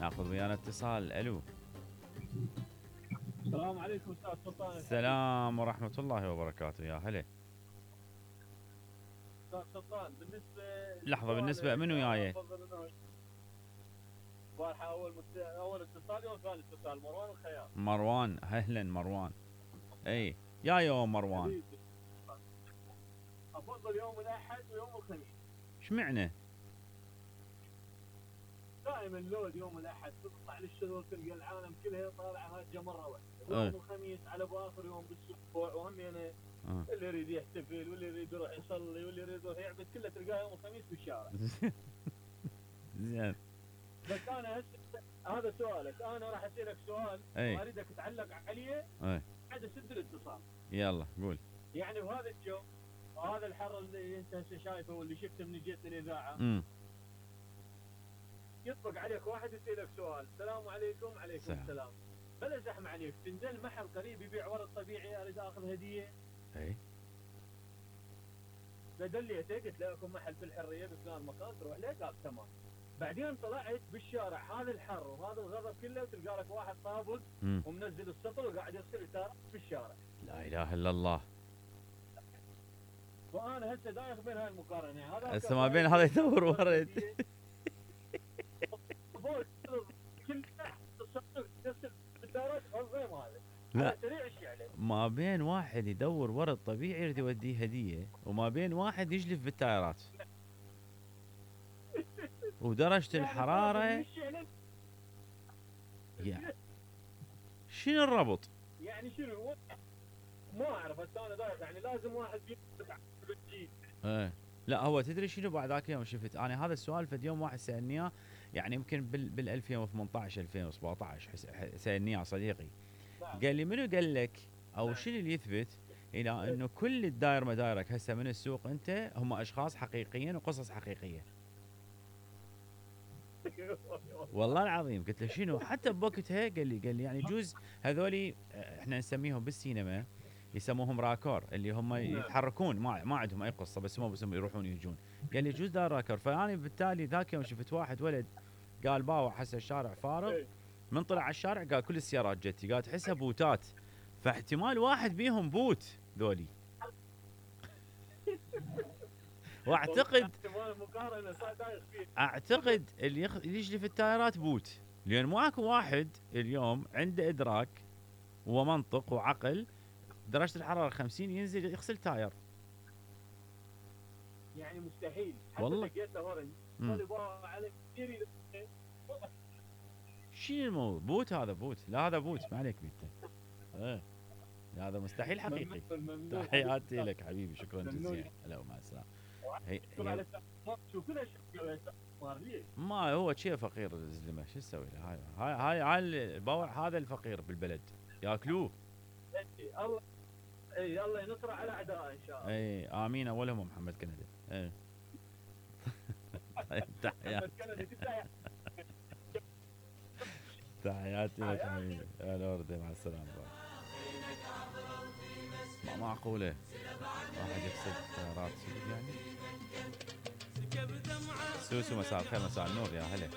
ناخذ ويانا اتصال. الو. السلام عليكم استاذ سلطان. السلام ورحمة الله وبركاته. يا هلا. استاذ سلطان بالنسبه لحظة، بالنسبة منو جاي؟ اول اتصال يوم ثاني اتصال مروان الخياط. مروان، اهلا مروان. اي يا يوم مروان. افضل يوم الاحد ويوم الخميس. اشمعنى؟ دائما لود يوم الاحد تطلع للشغل تلقى العالم كلها طالعه هاجه مره واحده. يوم الخميس على باخر يوم بالاسبوع وهم يعني اللي يريد يحتفل واللي يريد يروح يصلي واللي يريد يروح يعبد كله تلقاه يوم الخميس بالشارع. زين. بس انا هذا سؤالك، انا راح اسالك سؤال واريدك تعلق عليه بعد اسد الاتصال. يلا قول. يعني بهذا الجو وهذا الحر اللي انت هسه شايفه واللي شفته من جهه الاذاعه، يطبق عليك واحد يسالك سؤال، السلام عليكم. عليكم السلام. بلا زحمه عليك، تنزل محل قريب يبيع ورد طبيعي اريد اخذ هديه. اي فدليته قلت له اكو محل في الحريه بفلان مكان تروح له، قال تمام. بعدين طلعت بالشارع هذا الحر وهذا الغضب كله وتلقى لك واحد طابق ومنزل السطل وقاعد يغسل اثار في الشارع. لا اله الا الله. وانا هسه دايخ بين هاي المقارنه، هذا هسه ما بين هذا يدور ورد كل الصندوق تغسل بالدورات غير هذا. لا سريع الشعله. ما بين واحد يدور ورد طبيعي يريد يوديه هديه، وما بين واحد يجلف بالتايرات. ودرجة الحرارة يعني شنو الربط؟ يعني شنو؟ ما اعرف، بس انا دايخ يعني لازم واحد بالجيل. لا هو تدري شنو بعد ذاك اليوم شفت انا هذا السؤال فد يوم واحد سالني اياه، يعني يمكن بال 2018 2017 سالني اياه صديقي. قال لي منو قال لك او شنو اللي يثبت الى انه كل الداير مدايرك هسه من السوق انت هم اشخاص حقيقيين وقصص حقيقيه؟ والله العظيم قلت له شنو؟ حتى بوقتها قال لي يعني جوز هذولي احنا نسميهم بالسينما يسموهم راكور، اللي هم يتحركون ما عندهم اي قصه، بس هم يروحون يجون. قال لي جوز دار راكور. فانا بالتالي ذاك يوم شفت واحد ولد قال باوع حس الشارع فارغ، من طلع على الشارع قال كل السيارات جتي، قال تحسها بوتات، فاحتمال واحد بيهم بوت ذولي. اعتقد اللي يجلي في التايرات بوت، لان ماكو واحد اليوم عنده ادراك ومنطق وعقل درجه الحراره 50 ينزل يغسل تاير. يعني مستحيل. والله لقيته اورنج على كثير. شنو الموضوع؟ بوت هذا بوت؟ لا هذا بوت ما عليك بيته. هذا مستحيل حقيقي. تحياتي لك حبيبي، شكرا جزيلا. هلا ومع السلامه. ما هو شيء فقير الزلمه، شو نسوي له؟ هاي البوع هذا الفقير بالبلد ياكلوه. الله الله ينصر على اعدائه ان شاء الله. امين. اولهم محمد كندي. تحياتي لك حبيبي. يا لورد مع السلامه. ما معقوله واحد يغسل سيارات يعني. سوسو مساء الخير مساء النور. يا هلا.